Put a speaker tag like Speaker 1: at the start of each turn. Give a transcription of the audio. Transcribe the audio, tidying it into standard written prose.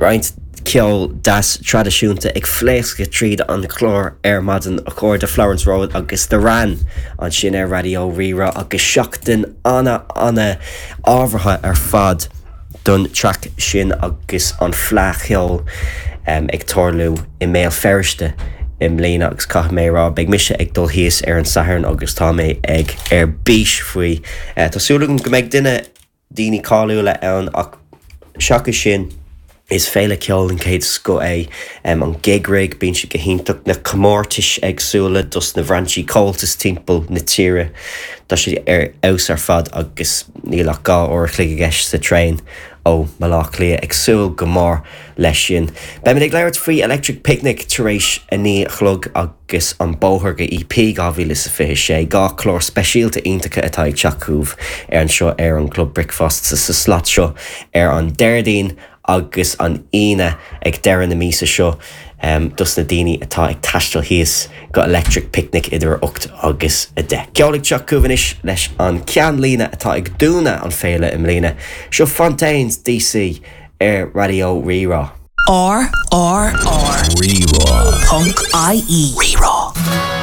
Speaker 1: Roinnt ceol deas traidisiúnta ag phléascadh tríd an chlár ar maidin, a chairde, Florence Road agus The Wran ansin ar Raidió Rí-Rá agus seachtain ana ana ábhartha ar fad don traic sin agus an Fleadh Cheoil ag tarlú i mBéal Feirste i mbliana agus caithfidh mé a rá beidh mise ag dul thíos ar an Satharn agus tá mé ag ar bís faoi. Tá súil agam go mbeidh duine daoine cáiliúla ann ach seachas sin is féile ceoil den chéad scoth é an Gig Rig, bíonn sé go hiontach, na comórtais éagsúla dos na bhrainsí Comhaltas timpeall na tíre, tá sé ar fheabhas ar fad agus níl ach 2 uair a chloig i gceist sa traein ó Bhaile Átha Cliath, ag súil go mór leis sin. Beimid ag labhairt faoi Electric Picnic tar éis a 9 a chlog agus an Bóthar go EP 2026, 2 chlár speisialta iontacha atá ag teacht chugaibh ar anseo ar an gClub Bricfeasta sa slot seo ar an Déardaoin agus an Aoine ag deireadh na míosa seo dos na daoine atá ag taisteal thíos go Electric Picnic idir 8 agus 10. Ceol ag teacht chugaibh anois leis an ceannlíne atá ag dúnadh an féile i mbliana. Seo Fontaines DC ar Raidió Rí-Rá.
Speaker 2: R R R. Rí-Rá. Ponc IE. Rí-Rá.